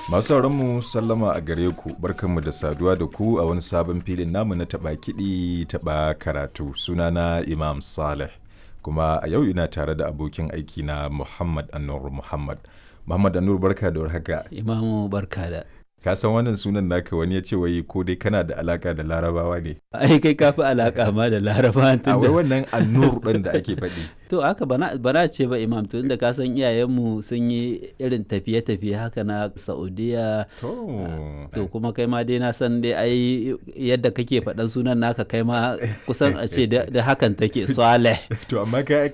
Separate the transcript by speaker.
Speaker 1: Masu mu sallama a gare ku, barkanmu da saduwa da ku a wani sabon filin namu na taɓa kiɗi taɓa karatu. Sunana Imam Saleh, kuma a yau ina tare da abokin aiki na Muhammad Anur Muhammad. Muhammad Anur, barka da warhaka.
Speaker 2: Imamu, barka da.
Speaker 1: Ka san wannan sunan naka, wani ya ce wai ko dai kana da alaka da Larabawa ne?
Speaker 2: Ai kai kafi alaka ma da Larabawa.
Speaker 1: A wai wannan Anur ɗin da ake faɗi.
Speaker 2: To haka bana ce ba, Imam, to inda ka san iyayenmu sun yi irin tafiye-tafiye haka na Saudiya. To kuma kai ma dai na san dai ai yadda kake faɗan sunan naka, kai ma kusan a ce da hakan take, Saleh.
Speaker 1: To amma kai